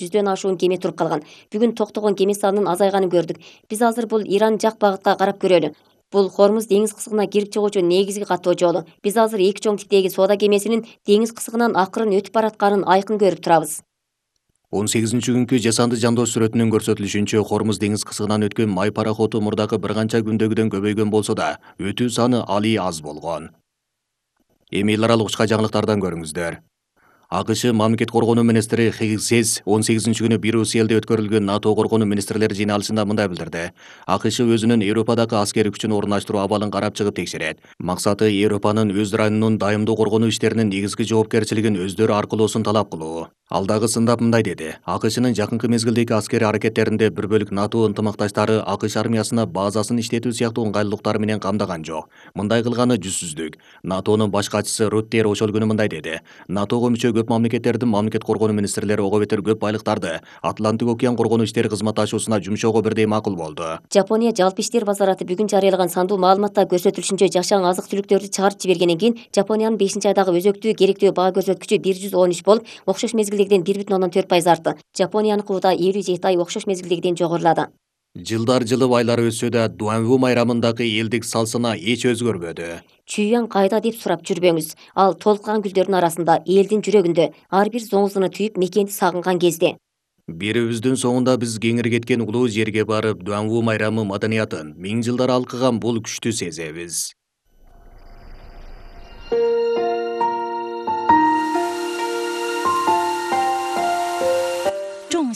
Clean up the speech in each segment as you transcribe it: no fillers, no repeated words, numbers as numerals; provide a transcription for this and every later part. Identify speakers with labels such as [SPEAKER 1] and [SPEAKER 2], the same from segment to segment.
[SPEAKER 1] 100дөн ашуун кеме туруп калган. Бүгүн токтогон кеме санынын азайганын көрдүк. Биз азыр бул Иран жак багытка карап көрөлү. Бул Хормуз деңиз кысыгына кирип чыгуучу негизги каттоо жолу. Биз азыр эки чоң типтеги соода кемесинин деңиз кысыгынан акырын өтүп баратканын айкын көрүп турабыз.
[SPEAKER 2] 18-күnkү жасанды жандош сүрөтүнөн көрсөтүлүшүнчө Хормуз деңиз кысыгынан өткөн май пароходу мурдагы бир канча күндөгүдөн көбөйгөн болсо да, өтүү саны али аз болгон. Эми эл аралык учка жаңылыктардан көрүңүздөр. АКШ мамлекет коргонуу министри Хиггс 18-күнү Брюсселде өткөрүлгөн НАТО коргонуу министрлер жыйналышында мындай билдирди. АКШ өзүнүн Европадагы аскерий күчүн орунаштыруу абалын карап чыгып текшерет. Максаты Европанын өз районунун дайымдуу коргонуу иштеринин негизги жоопкерчилигин өздөрү аркылоосун талап кылуу. Алдагы сындап мындай деди. АКШнын жакынкы мезгилдеги аскерий аракеттеринде бир бөлүк НАТО ынтымакташтары АКШ армиясына базасын иштетүү сыяктуу ыңгайлуулуктар менен камдаган жок. Мындай кылганы жүзсүздүк. НАТОнун баш катчысы Руттер ошол күнү мындай деди. НАТОго мүчө көп мамлекеттердин мамлекет коргонуу министрлери ого бетер көп байлыктарды Атлантик океан коргонуу иштери кызматташуусуна жумшоого бирдей макул болду.
[SPEAKER 1] Жапония жалпы иштер базараты бүгүн жарыялаган сандуу маалыматта көрсөтүлүшүнчө жашаң азык-түлүктөрдү чыгарып жибергенден кийин Жапониянын 5-айдагы өзөктүү керектүү баа көрсөткүчү 113 болуп, окшош мезгилдегиден 1,4% артты. Жапонияныкы да 57 ай окшош мезгилдегиден жогорулады.
[SPEAKER 2] Жылдар жылып айлар өтсө да Дуанву майрамындагы элдик салсына эч өзгөрбөдү.
[SPEAKER 1] Чүйян кайда деп сурап жүрбөңүз. Ал толкуган гүлдөрдүн арасында, элдин жүрөгүндө, ар бир зоңузуну түйүп мекенди сагынган кезде.
[SPEAKER 2] Бирибиздин соңунда биз кеңири кеткен улуу жерге барып, Дуанву майрамы маданиятын, миң жылдар алкыган бул күчтү сезебиз.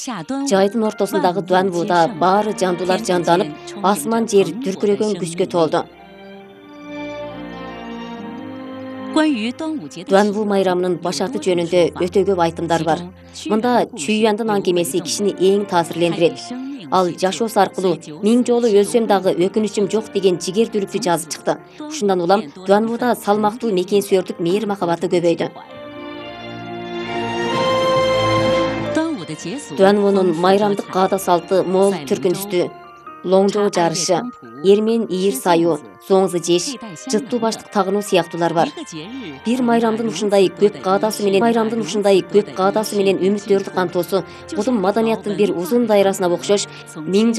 [SPEAKER 1] Жайдын ортосундагы Дуанвуда баары жандуулар жанданып, асман жер дүркүрөгөн күзгө толду. Дуанву майрамынын башарты жөнүндө өтө көп айтымдар бар. Мында Чүйяндын аңгемеси кишини эң таасирлендирет. Ал жашоосу аркылуу миң жолу өлсөм дагы өкүнүчүм жок деген жигердүүлүктү жазып чыкты. Ушундан улам Дуанвуда салмактуу мекенсүйөрлүк мээр махабаты көбөйдү. Дуанвунун майрамдык каада салты мол түркүнүстүү, лоңжоо жарышы, эрмен ийир саюу, зоңзу жеш, жыттуу баштык тагынуу сыяктуулар бар. Бир майрамдын ушундай көп каадасы менен үмүттөрдү камтоосу бул маданияттын бир узун дайрасына окшош миң